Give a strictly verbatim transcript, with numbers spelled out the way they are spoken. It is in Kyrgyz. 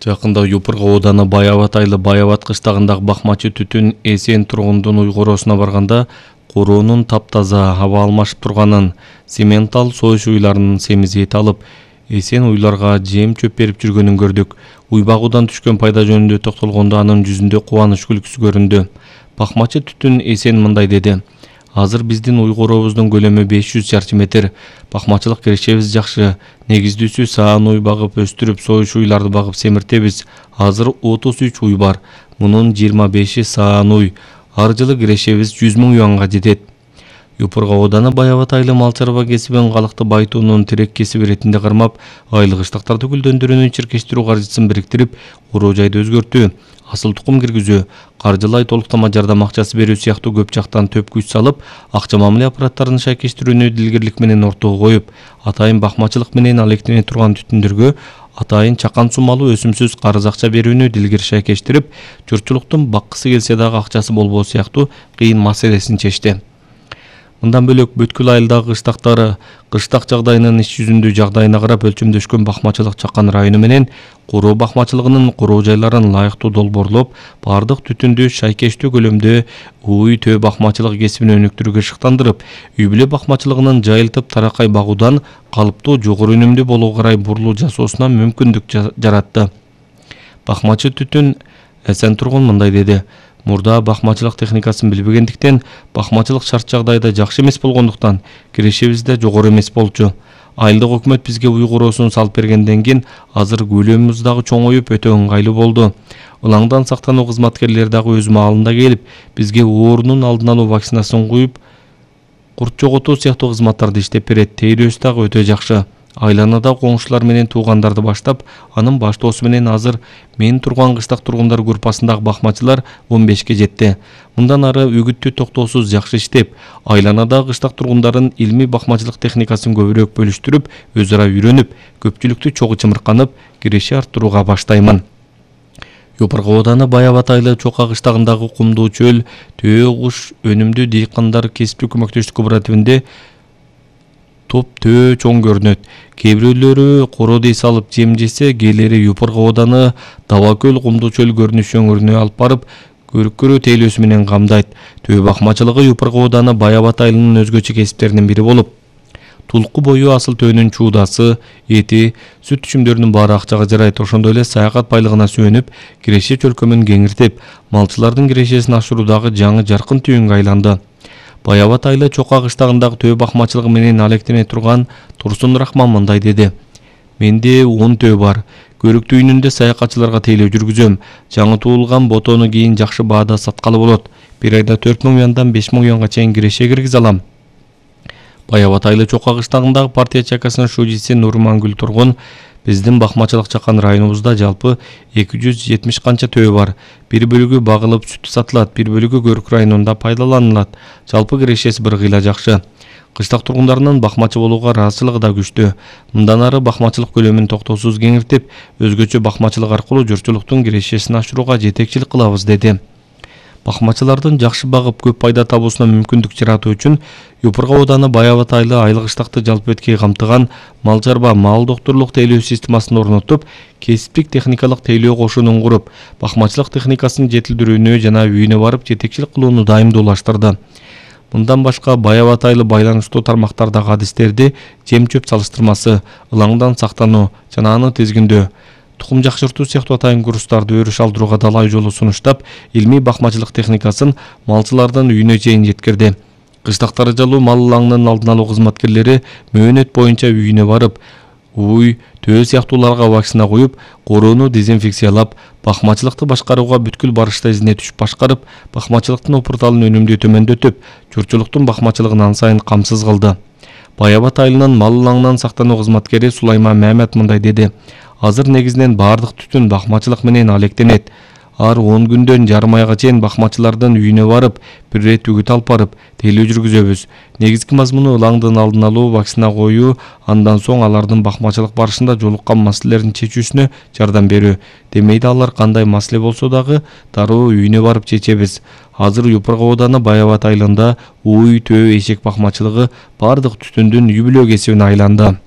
Жакында Юпурга ооданы Баябат айылы Баябат кыштагындагы бакмачы түтүн Эсен тургундун уйгуроосуна барганда куроонун таптаза аба алмашып турганын, Сементал союш уйларынын семизи эт алып, Эсен уйларга жем чөп берип жүргөнүн көрдүк. Уй багуудан түшкөн пайда жөнүндө токтолгондо анын жүзүндө кубаныч күлкүсү көрүндү. Бакмачы түтүн Эсен мындай деди: Азыр биздин уйгурообуздун көлөмү беш жүз чарчы метр. Бакмачылык кирешебиз жакшы. Негиздүүсү саан уй багып өстүрүп, союш уйларды багып семиртебиз. Азыр отуз үч уй бар. Мунун жыйырма беши саан уй. Ар жылы кирешебиз жүз миң юанга жетет. Юпурга ооданы Баябат айылы мал чарба кесибин калыкты байытуунун тирек кесиби иретинде кармап, айыл кыштактарды гүлдөндүрүүнүн чиркештирүү каржысын бириктирип, уруу жайды өзгөртүү, асыл тукум киргизүү, каржылай толуктама жардам акчасы берүү сыяктуу көп жактан төп күч салып, акча мамиле аппараттарынын шайкештирүүнү дилгирлик менен ортого коюп, атайын бакмачылык менен алектене турган түтүндөргө атайын чакан суммалуу өсүмсүз карыз акча берүүнү дилгир шайкештирип, журтчулуктун баккысы келсе дагы акчасы болбоо сыяктуу кыйын маселесин чечти. Мындан бөлөк бүткүл айылдагы кыштактары кыштак жагдайынын иш жүзүндүү жагдайына карап өлчөмдөшкөн бакмачылык Чакан району менен куроо бакмачылыгынын куроо жайларын ылайыктуу долбоорлоп, бардык түтүндү шайкештүү көлөмдө уй төө бакмачылык кесибин өнүктүрүүгө шыктандырып, үй бүлө бакмачылыгынын жайылтып таракай багуудан калыптуу жогору үнүмдүү болууга карай бурлуу жасоосуна мүмкүндүк жаратты. Бакмачы түтүн Эсен тургун мындай деди: Мурда бакмачылык техникасын билбегендиктен, бакмачылык шарт жагдайда жакшы эмес болгондуктан кирешебиз да жогору эмес болчу. Айылдык өкмөт бизге уйгуроосун салып бергенден кийин азыр көлөмүбүз дагы чоңоюп өтө ыңгайлуу болду. Ылаңдан сактануу кызматкерлери дагы өз маалында келип, бизге оорунун алдын алуу вакцинасын куюп, курт жоготуу сыяктуу кызматтарды иштеп берет. Тейлөөсү дагы өтө жакшы. Айланада коңшулар менен туугандарды баштап, анын баштоосу менен азыр мен турган кыштак тургундар группасындагы бакмачылар он бешке жетти. Мындан ары үгүттүү токтоосуз жакшы иштеп, айланадагы кыштак тургундарын илмий бакмачылык техникасын көбүрөөк бөлүштүрүп, өз ара үйрөнүп, көпчүлүктү чогуу чымырканып, киреши арттырууга баштаймын. Юпурга ооданы Баябат айылы Чока кыштагындагы кумдуу чөл, төө куш өнүмдүү дыйкандар кесиптүү көмөктөштүк кооперативинде топ төө чоң көрүнөт. Кээ бирөөлөрү коро дей салып жем жесе, кээлери Юпурга ооданы Табакөл кумдуу чөл көрүнүш өңүрүнө алып барып, көрүккөрүү тейлөөсү менен камдайт. Төө бакмачылыгы Юпурга ооданы Баябат айылынын өзгөчө кесиптеринин бири болуп, тулку бою асыл төөнүн чуудасы, эти, сүт түчүмдөрүнүн баары акчага жарайт. Ошондой эле саякат байлыгына сүйөнүп, киреше чөлкөмүн кеңиртип, малчылардын кирешесин ашыруудагы жаңы жаркын түйүнгө айланды. Баябат айылы Чока кыштагындагы төө бакмачылыгы менен алектене турган Турсун Рахман мындай деди: Менде он төө бар. Көрүктүү үйүнүндө саякатчыларга тейлөө жүргүзөм. Жаңы туулган ботону кийин жакшы баада саткалы болот. Бир айда төрт миң юандан беш миң юанга чейин киреше киргизе алам. Баябат айылы Чока кыштагындагы партия чакасынын шужиси Нурмангүл тургун: Биздин бакмачылык Чакан районубузда жалпы эки жүз жетимиш канча төө бар. Бир бөлүгү багылып сүт сатылат, бир бөлүгү Көрүк районунда пайдаланылат. Жалпы кирешеси бир кыйла жакшы. Кыштак тургундарынын бакмачы болууга ыраазычылыгы да күчтүү. Мындан ары бакмачылык көлөмүн токтоосуз кеңиртип, өзгөчө бакмачылык аркылуу журтчулуктун кирешесин ашырууга жетекчилик кылабыз деди. Бакмачылардын жакшы багып көп пайда табуусуна мүмкүндүк жаратуу үчүн Юпурга ооданы Баябат айылы айыл кыштакты жалпы эткей камтыган мал чарба мал доктурлук тейлөө системасын орнотуп, кесиптик техникалык тейлөө кошунун куруп, бакмачылык техникасын жетилдирүүнү жана үйүнө барып жетекчилик кылууну дайымдуулаштырды. Мындан башка Баябат айылы байланыштуу тармактардагы адистерди жем чөп салыштырмасы, ылаңдан сактануу жана аны тизгиндөө, тукум жакшыртуу сыяктуу атайын курстарды өрүш алдырууга далай жолу сунуштап, илмий бакмачылык техникасын малчылардын үйүнө чейин жеткирди. Кыштактары жалуу мал ылаңынын алдын алуу кызматкерлери мөөнөт боюнча үйүнө барып, уй, төө сыяктууларга вакцина коюп, короону дезинфекциялап, бакмачылыкты башкарууга бүткүл барышта изине түшүп башкарып, бакмачылыктын опурталын өнүмдүү төмөндөтүп, журтчулуктун бакмачылыгын ан сайын камсыз кылды. Баябат айылынын мал ылаңынан сактануу кызматкери Сулайман Мамет мындай деди: Азыр негизинен бардык түтүн бакмачылык менен алектенет. Ар он күндөн жарым айга чейин бакмачылардын үйүнө барып, бир рет үгүт алып барып, тейлөө жүргүзөбүз. Негизги мазмуну ылаңдын алдын алуу, вакцина коюу, андан соң алардын бакмачылык барышында жолуккан маселелерин чечүүсүнө жардам берүү. Демейде алар кандай маселе болсо дагы дароо үйүнө барып чечебиз. Азыр Юпурга ооданы Баябат айылында уй, төө, эшек бакмачылыгы бардык түтүндүн үй бүлө кесибине айланды.